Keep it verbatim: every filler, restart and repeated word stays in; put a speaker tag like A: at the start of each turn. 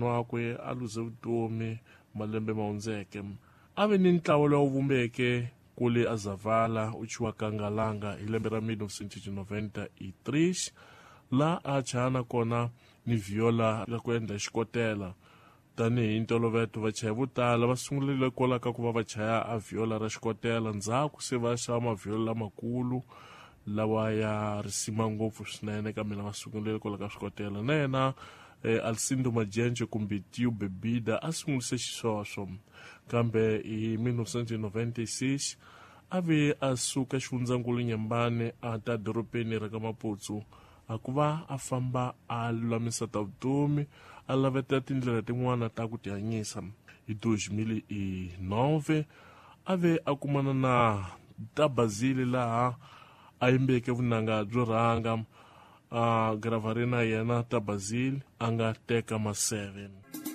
A: Wakwe a luze vutomi malembe ma hundzeke. A ve ni ntlawa lowu vumbeke kule a Zavala u chiwaka Ngalanga hi lembe ra mil novecentos e noventa e três, la a chana kona ni viola la ku endla xikotela. Tanihi ntolovelo vachayi vo tala va sungurile kwala ka ku va va chaya a viola ra xikotela, ndzhaku se va xava maviola lamakulu lawa ya risima ngopfu swinene, kambe va sungurile kwala ka swikotela. Na yena eh, Alcindo Majenje kumbe Tio Bebida a sungurise xisweswo, kambe hi mil novecentos e noventa e seis a ve a suka xifundzankulu Nyembane a ta dorobeni ra ka Maputsu, a ku va a famba a lulamisa ta vutomi, a laveta tindlela tin'wana ta ku tihanyisa. Hi dois mil e nove a ve a kumana na Tabazile laha a yimbeke vunanga byo rhanga, a gravari na yena Tabazile a nga teka maseve.